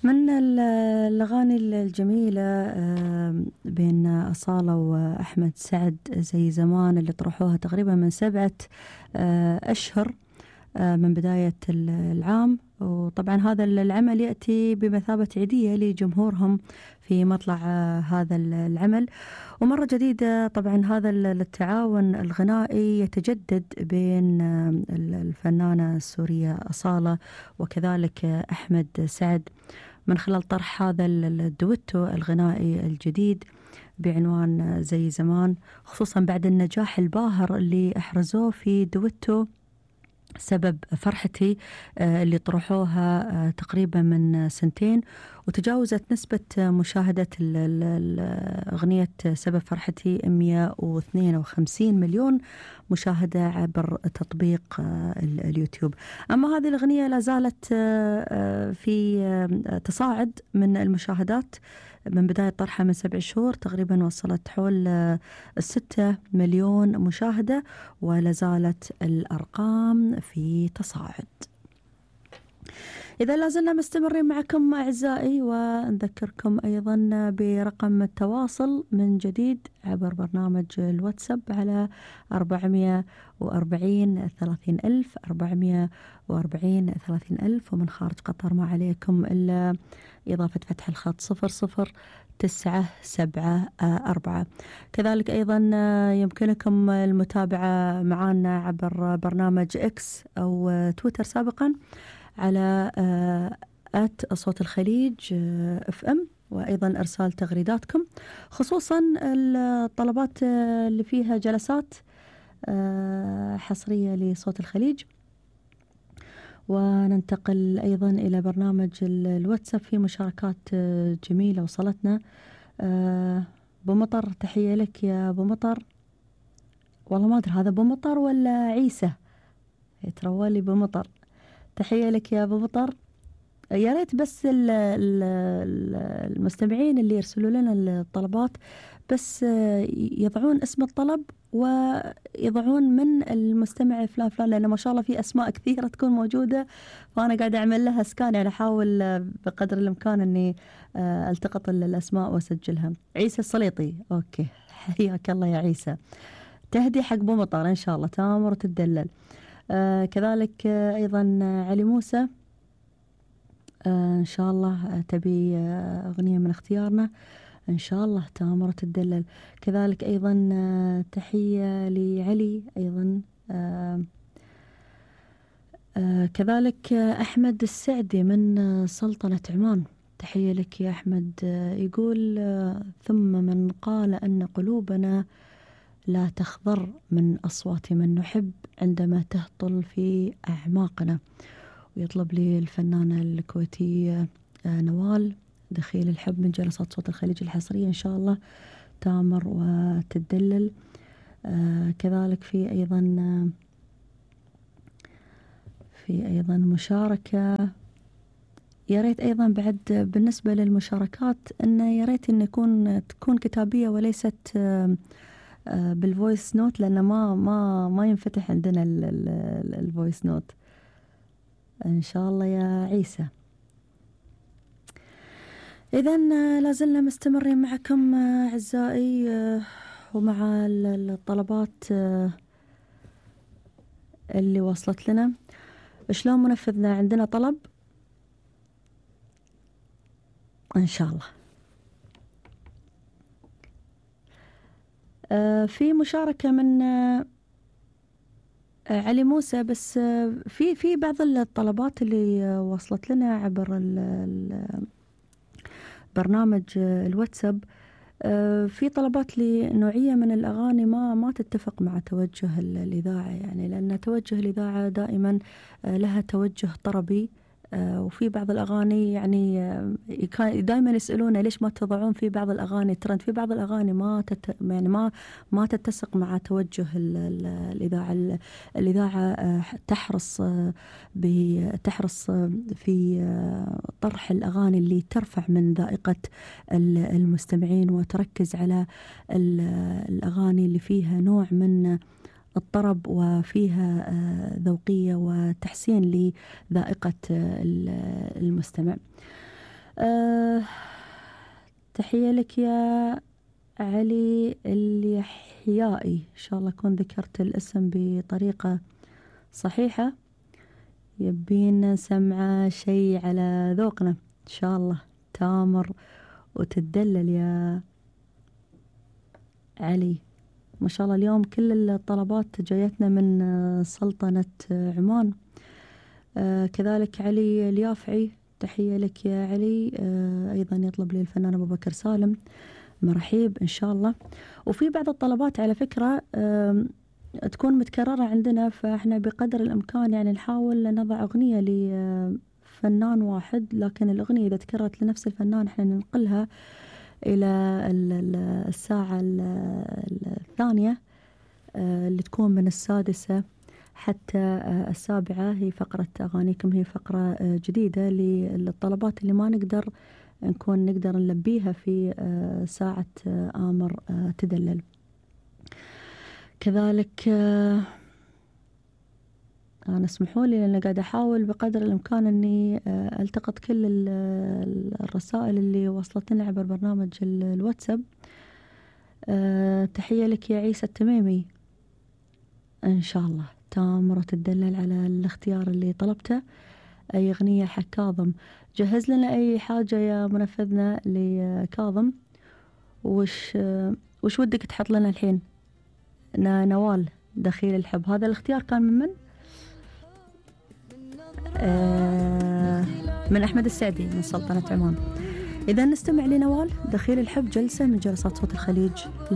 من الأغاني الجميلة بين أصالة وأحمد سعد زي زمان اللي طرحوها تقريبا من 7 أشهر من بداية العام. وطبعا هذا العمل يأتي بمثابة عيدية لجمهورهم في مطلع هذا العمل. ومرة جديدة طبعا هذا التعاون الغنائي يتجدد بين الفنانة السورية أصالة وكذلك أحمد سعد من خلال طرح هذا الدويتو الغنائي الجديد بعنوان زي زمان، خصوصا بعد النجاح الباهر اللي أحرزوه في دويتو سبب فرحتي اللي طرحوها تقريبا من 2 سنين، وتجاوزت نسبة مشاهدة أغنية سبب فرحتي 152 مليون مشاهدة عبر تطبيق اليوتيوب. أما هذه الأغنية لا زالت في تصاعد من المشاهدات من بداية طرحها من 7 شهور تقريبا، وصلت حول 6 مليون مشاهدة، ولا زالت الأرقام في تصاعد. إذا لازلنا مستمرين معكم أعزائي، ونذكركم أيضا برقم التواصل من جديد عبر برنامج الواتساب على 440 30,000 440 30,000، ومن خارج قطر ما عليكم إلا إضافة فتح الخط 00974. كذلك أيضا يمكنكم المتابعة معنا عبر برنامج إكس أو تويتر سابقا على @صوت الخليج FM، وأيضا إرسال تغريداتكم خصوصا الطلبات اللي فيها جلسات حصرية لصوت الخليج. وننتقل أيضا إلى برنامج الواتساب في مشاركات جميلة وصلتنا. بمطر، تحية لك يا بمطر. والله ما أدري هذا بمطر ولا عيسى، يترولي بمطر. تحية لك يا بمطر. يا ريت بس المستمعين اللي يرسلوا لنا الطلبات بس يضعون اسم الطلب ويضعون من المستمع فلان فلان، لأن ما شاء الله في أسماء كثيرة تكون موجودة، فأنا قاعدة أعمل لها سكان، يعني أحاول بقدر الإمكان أني ألتقط الأسماء وأسجلها. عيسى السليطي، أوكي، حياك الله يا عيسى. تهدي حق بمطر إن شاء الله تامر وتدلل. كذلك أيضا علي موسى، إن شاء الله تبي أغنية من اختيارنا إن شاء الله تامر وتدلل. كذلك أيضا تحية لعلي أيضا. كذلك أحمد السعدي من سلطنة عمان، تحية لك يا أحمد. يقول ثم من قال أن قلوبنا لا تخضر من أصوات من نحب عندما تهطل في أعماقنا. ويطلب لي الفنانة الكويتية نوال دخيل الحب من جلسات صوت الخليج الحصرية إن شاء الله تامر وتدلل. كذلك في أيضا مشاركة. يا ريت أيضا بعد بالنسبة للمشاركات أنه يا ريت أن تكون كتابية وليست بالفويس نوت، لأن ما ينفتح عندنا الفويس نوت إن شاء الله يا عيسى. إذن لازلنا مستمرين معكم أعزائي ومع الطلبات اللي وصلت لنا. شلون منفذنا؟ عندنا طلب إن شاء الله. في مشاركة من علي موسى، بس في بعض الطلبات اللي وصلت لنا عبر برنامج الواتساب. في طلبات لنوعية من الأغاني ما تتفق مع توجه الإذاعة، يعني لأن توجه الإذاعة دائما لها توجه طربي، وفي بعض الأغاني يعني دائما يسألونا ليش ما تضعون في بعض الأغاني ترند، في بعض الأغاني ما تتسق مع توجه الإذاعة. الإذاعة تحرص في طرح الأغاني اللي ترفع من ذائقة المستمعين، وتركز على الأغاني اللي فيها نوع من الطرب وفيها ذوقية وتحسين لذائقة المستمع. أه تحية لك يا علي اليحيائي، إن شاء الله أكون ذكرت الاسم بطريقة صحيحة. يبين سمعة شيء على ذوقنا إن شاء الله، تامر وتدلل يا علي. ما شاء الله اليوم كل الطلبات جايتنا من سلطنة عمان. كذلك علي اليافعي، تحية لك يا علي. أيضا يطلب لي الفنان أبو بكر سالم، مرحيب إن شاء الله. وفي بعض الطلبات على فكرة تكون متكررة عندنا، فإحنا بقدر الإمكان يعني نحاول نضع أغنية لفنان واحد، لكن الأغنية إذا تكررت لنفس الفنان إحنا ننقلها إلى الساعة الثانية اللي تكون من 6 حتى 7. هي فقرة أغانيكم، هي فقرة جديدة للطلبات اللي ما نقدر نلبيها في ساعة آمر تدلل. كذلك أنا اسمحوا لي لأن قاعدة أحاول بقدر الإمكان أني ألتقط كل الرسائل اللي وصلتنا عبر برنامج الواتساب. تحية لك يا عيسى التميمي، إن شاء الله تامر وتدلل على الاختيار اللي طلبته. أي أغنية حق كاظم، جهز لنا أي حاجة يا منفذنا لكاظم. وش ودك تحط لنا الحين؟ نوال دخيل الحب، هذا الاختيار كان من من أحمد السعدي من سلطنة عمان. إذا نستمع لنوال دخيل الحب، جلسة من جلسات صوت الخليج.